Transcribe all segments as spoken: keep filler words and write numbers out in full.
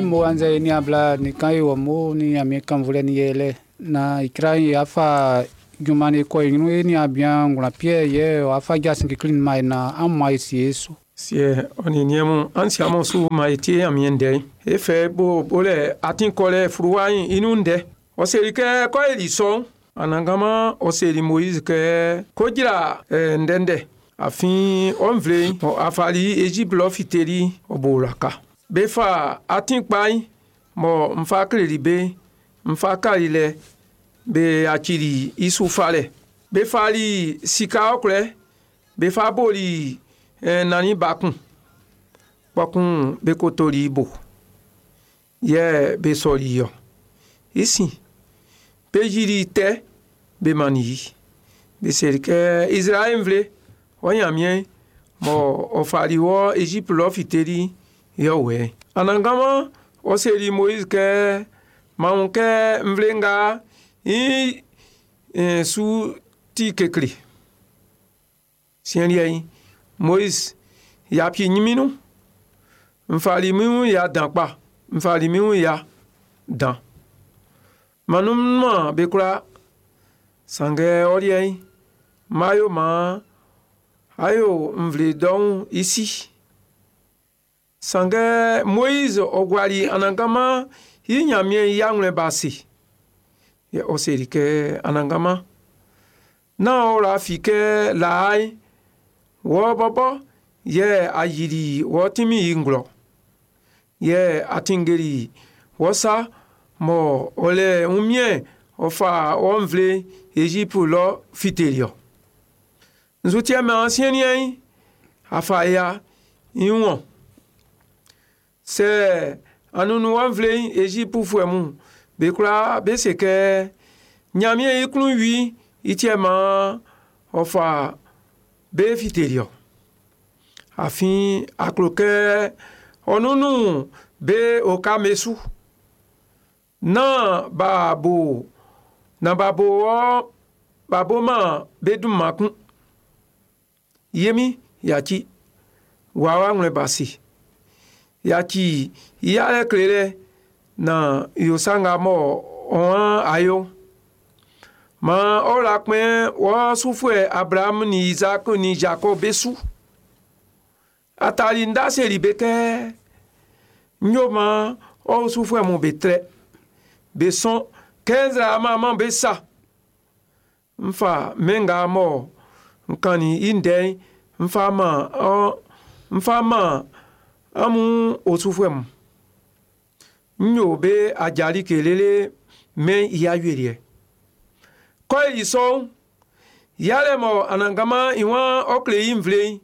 Mo annzɛ e niaan bla nin kan e wɔ mo ni Ɲanmiɛn kannvulɛ ni yɛlɛ na ikra ye afa junman ni kɔ e ɲrun e niaan bian ngwlan Piɛ yɛ ɔ afa jasin kekle ma e na an ma e sie e su. Siɛ ɔ nin niɛn mun an si amun su ma e tie Ɲanmiɛn ndɛ'n e fɛ bo bolɛ atin kɔlɛ fluwa'n i nun ndɛ ɔ seli kɛ kɔ e li sɔ'n Anannganman ɔ seli Moïse kɛ ko jra eh, ndɛndɛ afin ɔ nvle'n ɔ afali Égypte lɔ fiteli ɔ bo wlaka be fa atin kpa'n mɔ n fa kleli be n fa kali lɛ be yacili i su falɛ be fali sika ɔkwlɛ be fa boli eh, nannin ba kun kpɔkun be kotoli i bo yɛ be sɔli i ɔ i sin be yili tɛ be mannin i be seli kɛ Israɛl nvle ɔ Ɲanmiɛn mɔ ɔ fali wɔ Égypte lɔ fiteli yɛ wɛ Anannganman ɔ seli Moïse kɛ ma wun kɛ nvle nga i eh, su ti kekle siɛn liɛ'n Moïse yapi ɲiminu n fali min wun ya dan kpa n fali min wun ya dan manuma be kwla sanngɛ ɔ liɛ'n ma yo ma ayo nvle dɔn i si sanngɛ Moïse ɔ guali Anannganman i Ɲanmiɛn i awlɛn ba se yɛ ɔ seli kɛ Anannganman nán ɔ wla fi kɛ laa'n wɔ bɔbɔ yɛ a yili wɔ tinmin'n i nglɔ yɛ a tinngeli wɔ sa mɔ ɔ lɛ wunmiɛn ɔ fa wɔ nvle Égypte lɔ fiteli ɔ nzutiɛ mɛ siɛn liɛ'n afa ya i wɔn sɛ anunu wɔ nvle Égypte mun be kwla be se kɛ Ɲanmiɛn i klun wi i tiɛ ma ɔ fa be fiteli ɔ afin aklo kɛ ɔnunu be oka mesu na ba bo na ba bo wɔ ba bo ma be dun ma kun yemi yaci wawa ŋlɛ basi yaci yalɛ kle na yosanga mɔ ɔn ayo ma ɔla kpɛ wɔ sufuɛ Abraham ni Isaac ni Jacob be su atali nda seli be kɛ nyoma ɔ sufuɛ mun be trɛ be sɔn kɛ nzraama ma be sa nfa mɛnga mɔ nkani i ndɛ'n nfa ma ɔ nfa ma amun osufuɛ mun n yo be ajali kelele mɛ i awieliɛ kɔ yi sɔn yalɛ mɔ Anannganman i wan ɔkle i nvle'n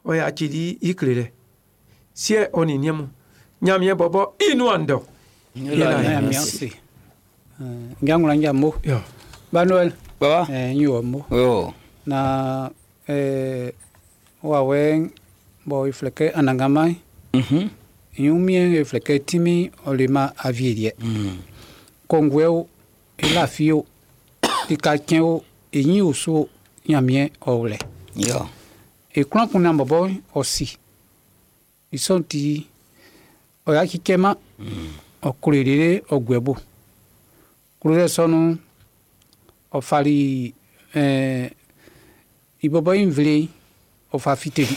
ɔ yacili i kle lɛ siɛ ɔ nin niɛn mun Ɲanmiɛn bɔbɔ i nuan dɔ Yɛla Ɲanmiɛn se. Njangula njamo. Yo. Ba Noël. Baba. Eh nyo mo. Yo. Na eh wa wen bo ifleke Anannganman. Mhm. Yumien ifleke timi olima avielie. Mm. Kɔnguɛ o, ilafi o, lika tiɛn o, enyi osu Ɲanmiɛn ɔwlɛ. Yo. Eklan kun na bɔbɔ ɔsi. Isɔn ti ɔya kikɛ ma ɔkulelele ɔgbɛbo. Kulelɛ sɔnu ɔfali ɛɛ ibɔbɔ invle ɔfa fiteli.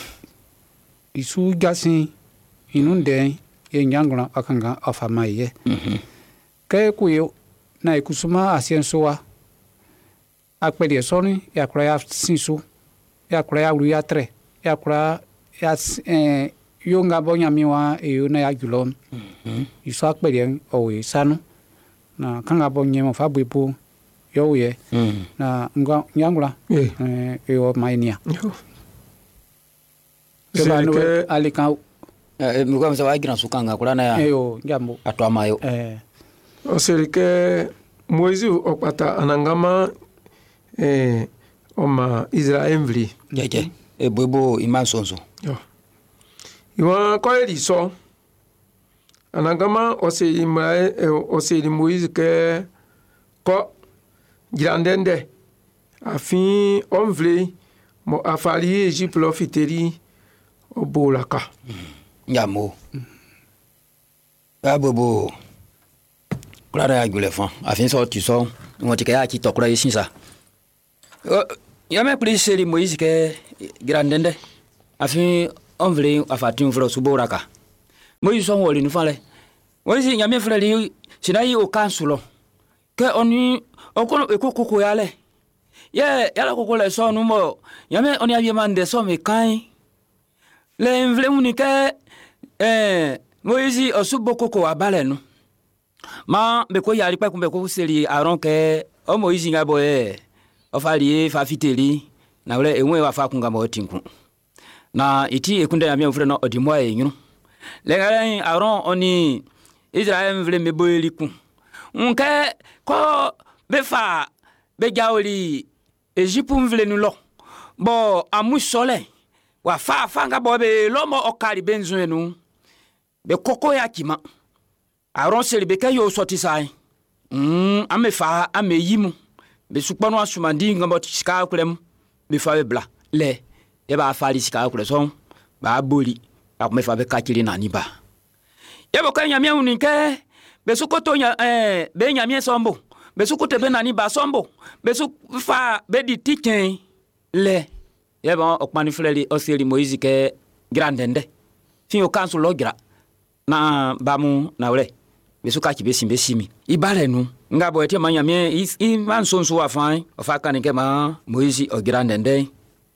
Isu jasin inu dɛn ye nyangla akanga ɔfa ma yɛ. Mhm. Kɛ kuye na ikusuma asiɛn so wa akpɛdeɛ sɔni yakura ya sin so yakura ya wlu ya trɛ yakura ya ɛɛ yonga bɔ nyami wa eyo na ya julɔ Mhm. isu akpɛdeɛ ɔwɔ sanu na kanga bɔ nyɛmɔ fa bo yɔwò yɛ Mm. na nga nyangla Eh. ɛɛ eyɔ ma enia. Yo. Kɛba Seli no kɛ ale kan Eh mi ko sa wa giran su kan ga kula na ya. eyo njambo Ato amayo. ɛɛ ɔ seli kɛ Moïse ɔkpata Anannganman eh, ɔma Israɛl nvle Jeje. E bobo ima sonso. Yo. Ìwọ̀n kọ́lẹ́lì sọ Anannganman ɔ seli Mra- eh, ɔ seli Moïse kɛ kɔ jra ndɛndɛ afin ɔ nvle mɔ afali Égypte lɔ fiteli ɔ bo la ka. Njamo. Ya bobo kura ya gule fan afin so ti so won ti ke ya ti tokura yi sinsa. Ya me pli seri Moïse ke grandende afin on vle afatin vle subora ka. Moïse son woli nu fale. Moïse nyame frère li sinayi o kansulo. Ke oni okono ekoko ya le. Ye yala koko le so nu mo nyame oni abi man de so me kan. Le nvle muni ke eh Moïse osubo koko abale nu. Ma be ko yari pe kun be ko seri aron ke o Moïse nga bo e o fa ri fa fiteli na wle enwe wa fa kun ga mo tinkun. Na iti ekunde ya mi ofre no odimo e nyunu. Le ngare aron oni Israel nvle me bo eliku. Nke ko be fa be jaoli Egypte nvle nu lo. Bo amu sole wa fa fa nga bo be lomo okari benzo enu. Be koko ya kima. Aron seli be ke yo sorti sai. Mm ame fa ame yimu. Be sukponu asumandi ngombo sika kulem be fa be bla. Le e ba fa li sika kule son ba boli. Ba me fa be kakiri na ni ba. Ye bo ke nyamie uni ke be sukoto nya eh be nyamie sombo. Be sukote be nani ba sombo. Be su fa be di tiken le. Ye bon okpani freli oseli Moïse ke grandende. Fin o kansu logra. Na bamu na wle. Be suka ki be simbe simi. Ibale nu. Nga bo ete manya mie i man sonso afan. Ofa kan ke ma Moïse o grandende.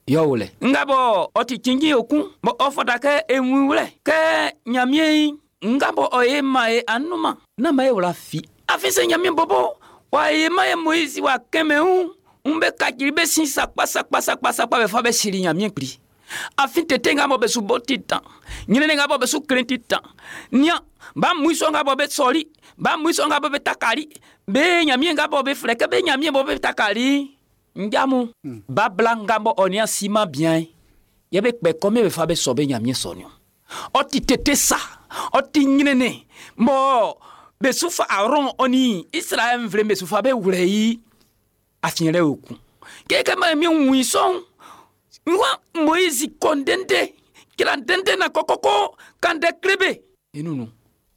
Yo wle. Nga bo oti kingi okun. Bo ofota ke enwi wle. Ke nyamie nga bo oye ma e anuma. Na ma e wla fi. Afise nyamie bobo. Wa ye ma e Moïse wa keme un. Umbe kakiri be sin sakpa sakpa sakpa sakpa be fa be siri nyamie pri. Afin tete nga bo be su boti tan. Nyine nga bo be su krenti tan. Nya ba muiso nga bo be sori, ba muiso nga bo be takari. Be nyamie nga bo be freke be nyamie bo be takari. Njamu mm. Ba bla nga bo onia sima bien. Ye be kpe kome be fa be so be nyamie sonyo. Oti tete sa, oti nyine ne. Mo be su fa aron oni Israel mvle be su fa be wure afinyere oku. Keke ma mi nwison. Nwa Moïse kondende kirandende na kokoko kande krebe. Inunu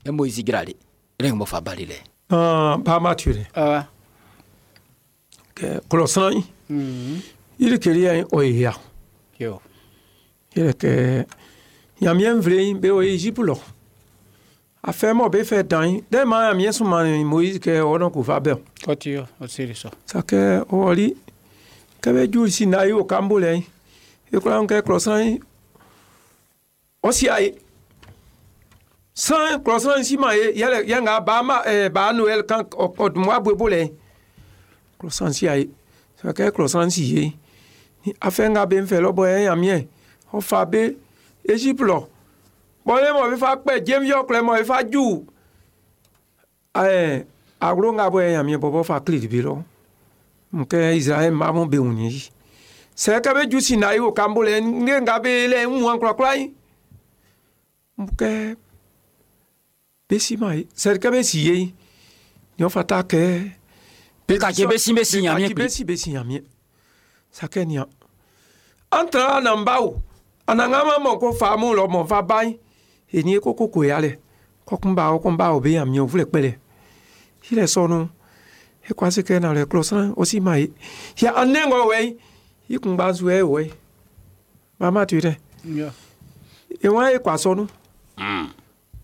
e Moïse grale. Reng mo fa balile. Ah ba ma ture. Ah. Ke kolosan. Mhm. Il keri en oya. Yo. Il ke yamien vle be o Egypte lo. A fait mo be fait dan. De ma yamien so man Moïse ke ono ko fa be. Koti yo o seri so. Sa ke oli ke be ju si na yo kambole. E kula nke kolosan o si ai. Sans kolosan si ma ye yele yanga ba ma eh ba Noël kan o moi bobole. Kolosan si ai. Sa ke kolosan si ye. Ni afenga be nfe lo bo yamien. O fa be Egypte lo. Bon le mo be fa pe jem yo kle mo be fa ju. Eh agro nga bo yamien bobo fa kli bi lo. Nke Israel ma mo be unyi. Se ka be ju si na yo kambole nge nga be le nwan kra kra yi. Nke be si mai se ka be si ye. Ni o fata ke be ka ke be si be si nyamie. Be si be si nyamie. Sa ke nia. Antra na mbao. Ananga ma mo ko fa mu lo mo fa bai. Eni ko ko ko ya le. Ko kun ba o kun ba o be yamie o fule pele. Ile so nu. E kwa se ke na le closan o si mai. Ya anengo we. I kun ba zu e we. Mama tu re. Yo. E wa e kwa so nu. Mm.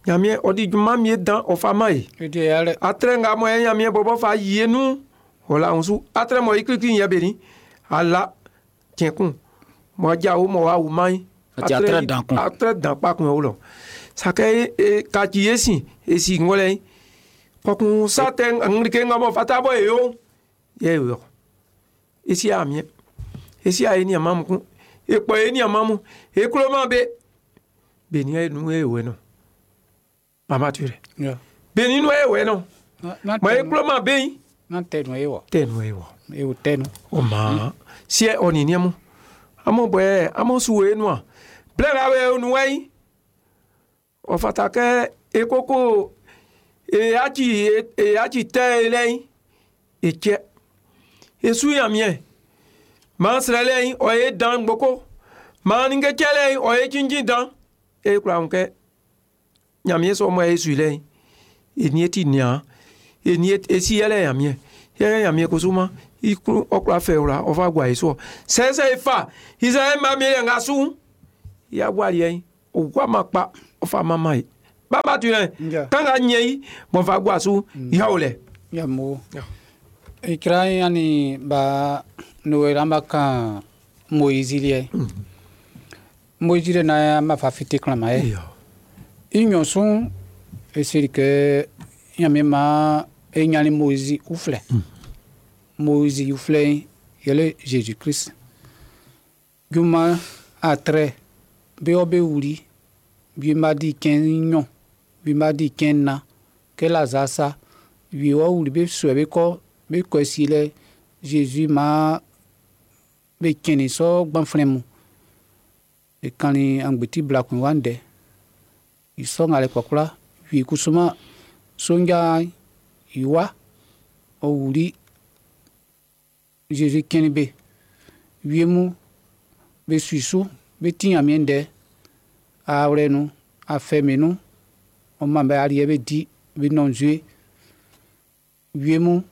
Nyamie odi juma mie dan o fa mai. E di ya le. Atre nga mo e nyamie bobo fa yie nu. Ola unsu atre mo ikiki yen be ni. Ala tienkun. Mo ja o mo wa wu mai. Ati atre dan kun. Atre dan pa kun o lo. Sa ke e ka ti esi esi ngole. Kokun sa te ngrike nga mo fata bo e yo. Ye yo. Esi amie. Esi aye ni amamu kun. Epo e ni amamu. E kuro ma be. Be ni e nu e we no. Mama tu re. Yo. Be ni nu e we no. Na Ma e kuro ma be yin. Na tenu e wo. Te nu e wo. E wo tenu. O ma. Si e oni ni mu. Amo bo e amo su we nu a. Ble ra we onu we. O fata ke e koko e achi e achi te le yin. E che. E su ya mie. Ma srele yin o e dan gboko. Ma ni ke chele yin o e jinjin dan. E kura nke. Nyamie so mo e su le yin. Eni eti nia eni esi yɛlɛ yamiɛ yɛlɛ yamiɛ kosuma ikuru ɔkura fɛ wla ɔfa gua yesu sɛsɛ ifa israɛl ma mi yɛ ŋa su ya gua liɛ ogua ma kpa ɔfa ma ma yi baba tu yɛ kanga nyɛ yi bɔn fa gua su yawo lɛ. Ya mo. Ikra yani ba Noël amba kan Moïse liɛ. Moïse le na ma fa fite klan ma ye. I sun e seri ke Ɲanmiɛn ma e ɲannin Moïse uflɛ. Moïse uflɛ yɛle Jésus Christ. Juma atre be o be wuli bi ma di kɛn ɲɔ bi ma di kɛn na ke la zasa bi o wuli be sɔɛ be kɔ be kɔ si lɛ Jésus ma be kɛni sɔ gbanflɛ mu e kanni angbeti bila kun wa ndɛ isɔ ŋa le kpɔkpla wi kusuma sonja iwa o wuli Jésus kɛni be wiemu be suisu be ti Ɲanmiɛn ndɛ awlɛ nu afɛmɛ nu ɔma bɛ aliɛ be di be nɔ nzue wiemu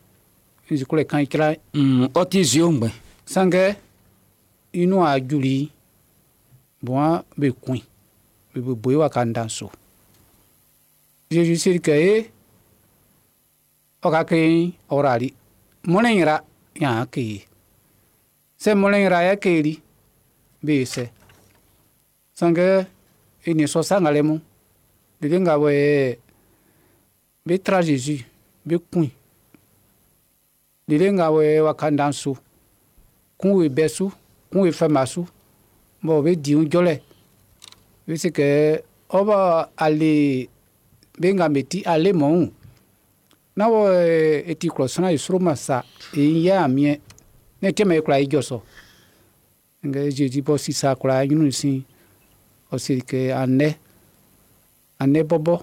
nzukule kan ikra. Mm, ɔ ti zio ŋgbɛ. Sanngɛ inu a juli bɔn be kun be be boye wa ka ndan so Jésus seri kɛ ye ɔ ka ke ɔrali mɔlɛ yira yan ke ye sɛ mɔlɛ yira yɛ keri be sɛ sanngɛ eni sɔ sangalɛ mu dede nga bɔ yɛ be tra Jésus be kun dede nga bɔ yɛ wa ka ndan so kun we bɛ su kun we fɛn su bɔn be di jɔlɛ be se kɛ ɔbɔ ale be nga me ti ale mɔn na wɔ eti kplɔ sɔnna yi sro ma sa eyi yɛ amiɛ ne tɛmɛ ekura yi jɔ sɔ nga Jésus bɔ sisa kura nyunu si ɔsi kɛ anɛ anɛ bɔbɔ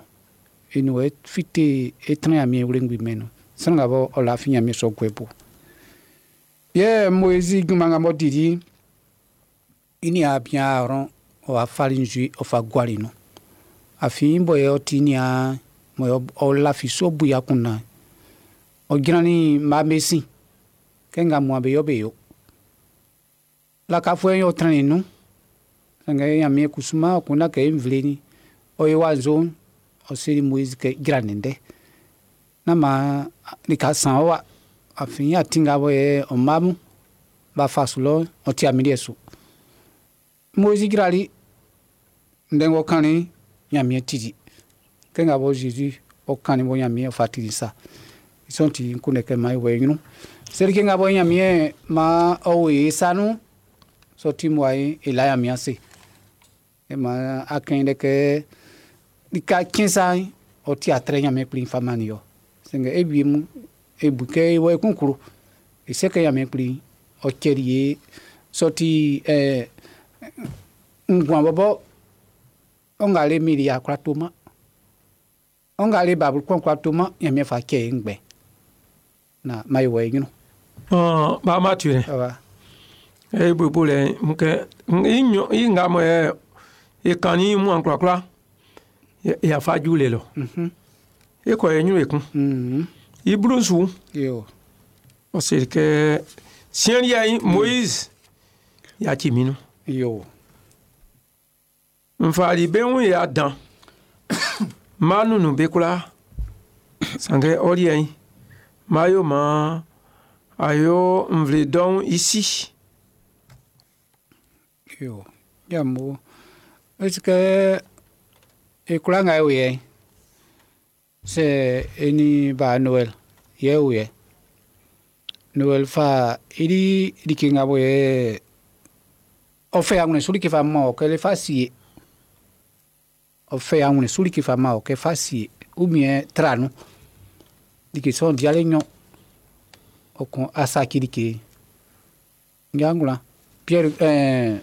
enu fite etrɛ amiɛ wle ŋgbi mɛ no sɔnni ka bɔ ɔla fi ɲami sɔ gbɛ bo yɛ Moïse juma ŋa bɔ didi ini a bia rɔn ɔ afali nzui ɔfa guali no afi bɔ yɛ ɔti nia mɔ ɔla fi so buya kunna ɔdzrani ma mesi kɛ ŋa mua be yɔ be yo lakafo yɛ ɔtrɛni nu sanga Ɲanmiɛn kusuma ɔkunna kɛ nvle ni ɔye wa zo ɔseri Moïse kɛ dzra nɛndɛ nama lika san wa afi atinga bɔ yɛ ɔmamu ba fa su lɔ ɔti ami liɛ su Moïse dzrali ndɛŋɔ kanni Ɲanmiɛn titi kɛ ŋa bɔ Jésus ɔkanni bɔ Ɲanmiɛn ɔfa titi sa sɔn ti kunɛ kɛ ma wɛ ɲinu selike ŋa bɔ Ɲanmiɛn ma ɔwɔ ye sanu sɔti mu ayi ela Ɲanmiɛn se e ma akɛn dɛ kɛ lika tiɛn ɔti atrɛ Ɲanmiɛn kpli fama ni yɔ sɛngɛ ebi mu ebu kɛ wɔ ekunkuru ese kɛ Ɲanmiɛn kpli ɔtsɛli ye sɔti ɛɛ ŋguan bɔbɔ ɔŋa le miri akura to ma ɔŋa le babu kɔn kura to ma Ɲanmiɛn fa tsɛ ye ŋgbɛ na ma yi wɔ ye ɲinu. Ɔn ba ma tu yɛ. Awa. E bo lɛ nkɛ i ɲɔ i ŋa mɔ yɛ e kan ni mu an kurakura yafa ju le lɔ. Mhm. E kɔ ye ɲu ekun. Mhm. I bulu su. Yo. Ɔse kɛ siɲɛ yɛ Moïse ya ti minu. Yo. Nfali be ŋu ya dan ma nunu be kura sanke ɔli yɛ ma yo ma ayo nvle dɔn isi. Yo. Ya mo. Est-ce que ekura ŋa ye yɛ c'est eni ba Noël yɛ o yɛ Noël fa ili like ŋa bɔ yɛ ɔfɛ aŋunɛ suli fa ma o kɛlɛ fa si ye ɔfɛ aŋunɛ suli fa ma o kɛ fa si ye ou bien tranu like sɔn diale nyɔ ɔkɔn asaki like ŋa Pierre ɛɛ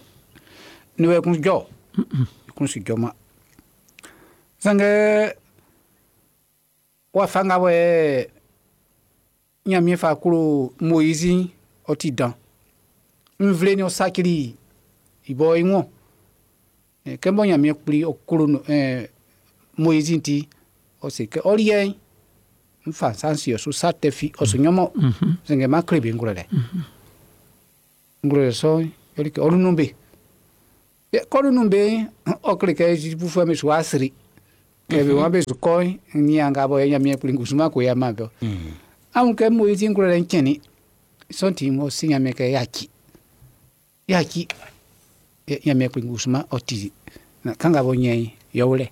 Noël kun jɔ kun si jɔ ma sange wa fanga bɔ yɛ Ɲanmiɛn fa klo Moïse ɔ ti dan nvle ni ɔsakili ibɔ iŋɔ kɛ bɔ Ɲanmiɛn kpli ɔklo ɛɛ Moïse ti ɔsi kɛ ɔliɛ N fa san si su sa tɛ fi ɔ su nyɔmɔ sɛngɛ ma kle be ngwlɛlɛ ngwlɛlɛ sɔ yɔli kɛ ɔlu nu be kɔlu nu be ɔ kle kɛ Ezipufuɛ mi su wa sri kɛ be wɔn be su kɔ ni anga bɔ Ɲanmiɛn kpli kusuma ko ya ma bɛ àwọn kɛ Moyizi ngwlɛlɛ ŋkyɛni sɔnti mo si Ɲanmiɛn kɛ yaci yaci Ɲanmiɛn kpli kusuma ɔ ti na kanga bɔ nyɛ yɔwlɛ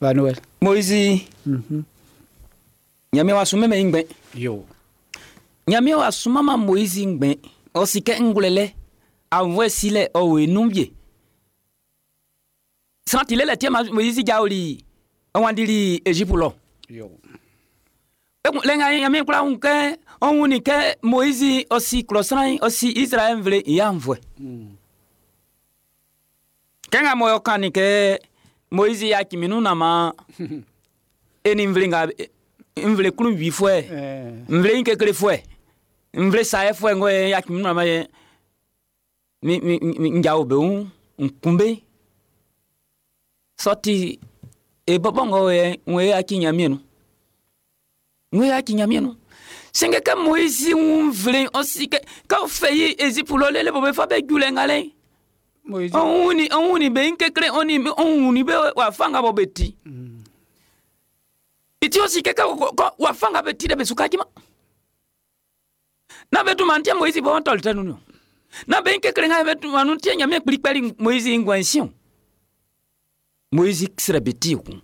ba Noël. Moïse Mhm. Ɲanmiɛn w'a sunmɛnmɛn i ngbɛn. Yo. Ɲanmiɛn w'a sunmanman Moïse ngbɛn. Ɔ si kɛ ngwlɛlɛ aunnvuɛ silɛ ɔ o i nun wie. Sran ti lɛ tiɛ ma Moïse jaoli ɔ wanndili Égypte lɔ. Yo. Ekun lɛ nga Ɲanmiɛn kwla wun kɛ ɔ wunnin kɛ Moïse ɔ si klɔ sran'n ɔ si Israël nvle i aunnvuɛ. Mm. Kɛ nga mɔ kannin kɛ Moïse yaci min nun na ma e ni nvle nga nvle klunwifuɛ Eh. nvle ɲin keklefuɛ nvle saɛfuɛ ŋgɔ ye yaci min nun na ma ye mi mi mi n jawo be wun n kun be sɔti e bɔbɔ ŋgɔ ye ŋun ye yaci Ɲanmiɛn nun ŋun ye yaci Ɲanmiɛn nun sɛngɛ kɛ Moïse wun nvle ɔ si kɛ k'aw fɛ yi Égypte lɔ lele bɔ be fa be ju lɛ ŋa lɛ Moïse. ɔn wunni ɔn wunni be kekle ɔn ni ɔn wunni be wa fanga bɔ be ti Mm. iti o si kɛ kɔ kɔ wa fanga be ti dɛ be su kajima na be tuma ntiɛ Moïse bɔ tɔli tɛ nunu na be kekle ŋa be tuma nu tiɛ Ɲanmiɛn kplikpɛli Moïse ŋgɔn siɔn Moïse srɛ be ti kun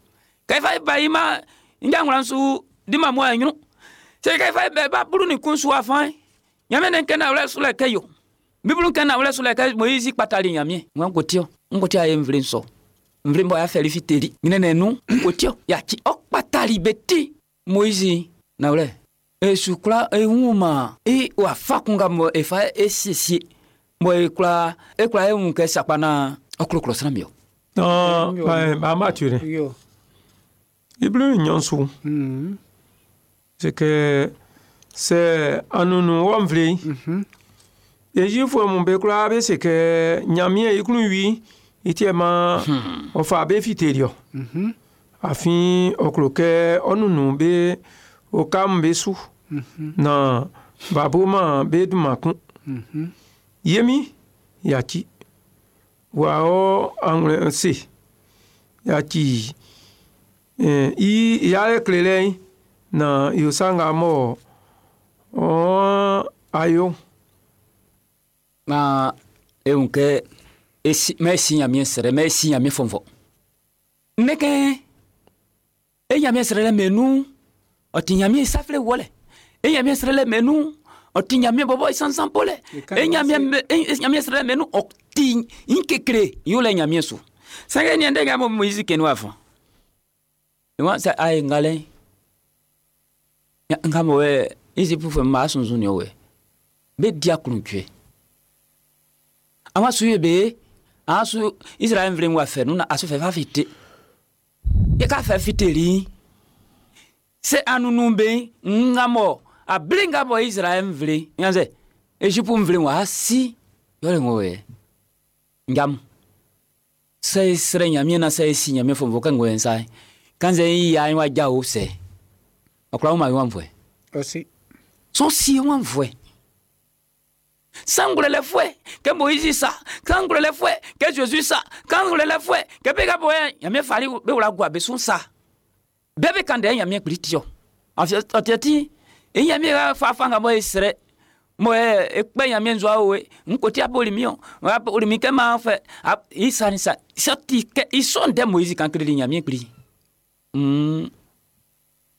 kɛfɛ ba yi ma njanwula su di ma mɔ ɛnyunu se kɛfɛ bɛ ba bulu ni kun su afan Ɲanmiɛn ne kɛ na wlɛ su lɛ kɛ yo bibulu kɛ na wlɛ su lɛ kɛ Moïse kpatali Ɲanmiɛn ŋa ko tiɔ n ko tiɔ a ye nvle sɔ nvle bɔ ya fɛli fi teli ɲinɛ nu n ko tiɔ yaci ɔ kpatali be ti Moïse na wlɛ esu kura ehu ma e wa fa kun ka mɔ efa e siesie mɔ e kura e kura e ŋun kɛ sakpana ɔkulɔkulɔ sira mi o. Non, ben, ba ma tu Yo. Iblu nyonsu. Mm. C'est que c'est anunu wamvle. Mhm. Ejifu mun be kura be se ke Ɲanmiɛn i klun wi iti ma o fa be fiterio. Mhm. Afin ɔ kɛ ɔnunu be o kam be su. Mhm. Na babo ma be duma kun. Mhm. Yemi yaci wa ɔ anwlɛ se yaci eh, i yalɛ klelɛ na yosanga mɔ ɔ ayo Ma e ŋun kɛ esi mɛ si Ɲanmiɛn srɛ mɛ si Ɲanmiɛn fɔnfɔ. Ne kɛ e Ɲanmiɛn srɛ lɛ mɛ nu ɔ ti Ɲanmiɛn safilɛ wɔlɛ e Ɲanmiɛn srɛ lɛ mɛ nu ɔ ti Ɲanmiɛn bɔbɔ sansan po lɛ e Ɲanmiɛn e Ɲanmiɛn srɛ lɛ mɛ nu ɔ ti n kekle y'o lɛ Ɲanmiɛn su. Sɛngɛ ni ndɛ ka mɔ Moïse kɛ ni wa fɔ. Wa sɛ a ye ngalɛ nka mɔ wɛ Égypte fɛ maa sunsun ni o wɛ be dia kuruntue ama su ye be a su Israël nvle wa fɛ nu na a su fɛ fa fi te ye ka fɛ fi te li se anunu be nga mɔ a bile nga bɔ Israël nvle yanzɛ Égypte nvle wa si yɔrɔ ŋɔ wɛ njam sɛ srɛ Ɲanmiɛn na sɛ si Ɲanmiɛn fɔ fɔ kɛ ŋɔ yɛn sa kanzɛ yi ya wa ja o sɛ ɔkura wo ma yi wa fɔ Aussi. sɔn si wa fɔ sangulɛlɛfuɛ kɛ Moïse sa sangulɛlɛfuɛ kɛ Jésus sa sangulɛlɛfuɛ kɛ bɛ ka bɔ yɛ Ɲanmiɛn fali bɛ wula gua bɛ sun sa bɛɛ bɛ kan dɛ Ɲanmiɛn kpili tiyɔ ɔtiɛ ti e Ɲanmiɛn ka fa fan ka bɔ ye srɛ mɔ yɛ ekpɛ Ɲanmiɛn zɔ awo ye nkoti aboli mi yɔ aboli mi kɛ ma fɛ a i sa ni sa sɔti kɛ i sɔn tɛ Moïse kan kiri Ɲanmiɛn kpili mm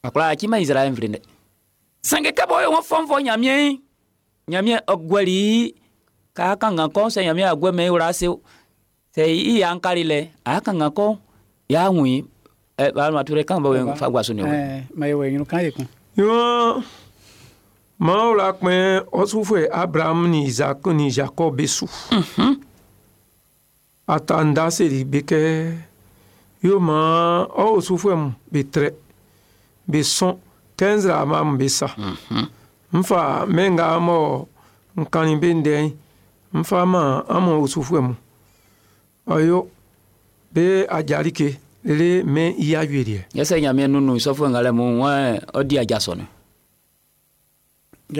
akura a ti ma Israël nvle dɛ sanke kɛ bɔ ye wɔn fɔn fɔ Ɲanmiɛn Ɲanmiɛn ɔgbɛli k'a kan ka kɔn sɛ Ɲanmiɛn agbɛ mɛ wura se sɛ i y'an kari lɛ a kan ka kɔn y'a ŋun ɛ balima ture kan bɔ fa gwaso ni o. Eh, ma ye wɛ ɲinu kan ye kun. Yɔn maaw la kpɛn ɔsufɛ Abraham ni Isaac ni Jacob be su. Atanda seri be kɛ yo ma ɔ osufɛ mu be trɛ be sɔn kɛnzra ma mu be sa. Nfa mɛ nga mɔ nkani be ndɛ nfa ma an mɔ osufɛ mu ɔyo be ajarike Lele mɛn i awieliɛ. Yɛsɛ Ɲanmiɛn nunu sɔfo ŋa lɛ mu wɔn ɔdi adza sɔni.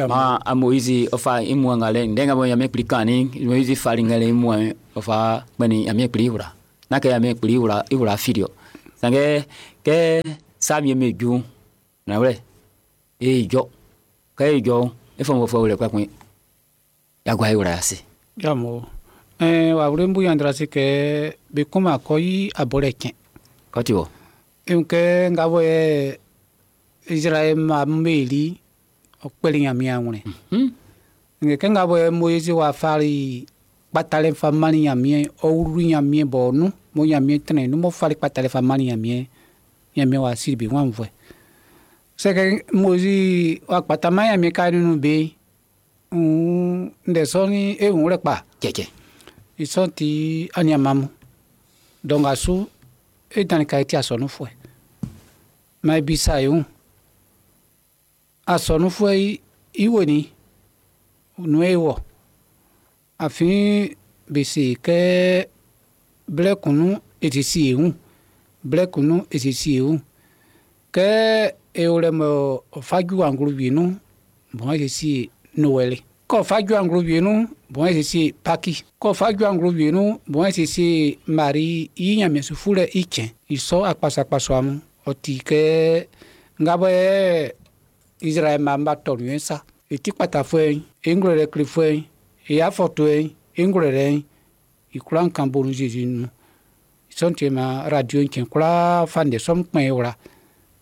Ma a Moïse ɔfa imu ŋa lɛ ndɛ ŋa bɔ Ɲanmiɛn kpli kan ni Moïse fali ŋa lɛ imu ɔfa kpɛni Ɲanmiɛn kpli wla. N'a kɛ Ɲanmiɛn kpli wla iwla fili o. Sanngɛ kɛ sa mi me ju na wlɛ e jɔ kɛ e jɔ e fɔ mo fɔ wlɛ kpɛkun yagba iwla yase. Jamo ɛɛ wa wuli mbu yandra se kɛ be kuma kɔ yi abɔlɛ tiɲɛ. Kɔti wɔ. Nke nga bɔ yɛ Israël ma meli ɔkpɛli Ɲanmiɛn wlɛ. Hmm. Nke kɛ nga bɔ yɛ Moïse wa fari kpatalɛ fa mali Ɲanmiɛn ɔwuru Ɲanmiɛn bɔ nu mo Ɲanmiɛn tɛnɛ nu mo fari kpatalɛ fa mali Ɲanmiɛn Ɲanmiɛn wa siri bi wan vɔɛ. Sɛkɛ Moïse wa kpata ma Ɲanmiɛn ka nunu be ŋ ndɛ sɔni e ŋu lɛ kpa. Cɛcɛ. Isɔn ti aniamamu donc asu e dani ka eti asɔnufɔɛ ma ebisa yewu asɔnufɔɛ yi iwe ni nu ewɔ afi bese kɛ blɛ kunu etisi yewu blɛ kunu etisi yewu kɛ ewolɛ mɔ ɔfadzu anglo wienu bɔn etisi Noël kɔ fadzu anglo wienu bɔn etisi Paki kɔ fadzu anglo wienu bɔn etisi Marie yi nyamɛsufu lɛ itsɛ isɔ akpasakpaso amu ɔti kɛ ngabɔ yɛ Israël ma ba tɔ nu sa eti kpatafɔɛ eŋlɔ lɛ klefɔɛ eyafɔtɔɛ eŋlɔ lɛ ikura nkan bonu Jésus nu sɔnti ma radio ntsɛ kura fa ndɛ sɔm kpɛn wla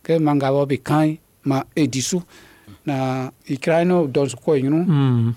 kɛ ma ngabɔ be kan ma edisu na ikra no dɔnsu kɔ yinu. Mm.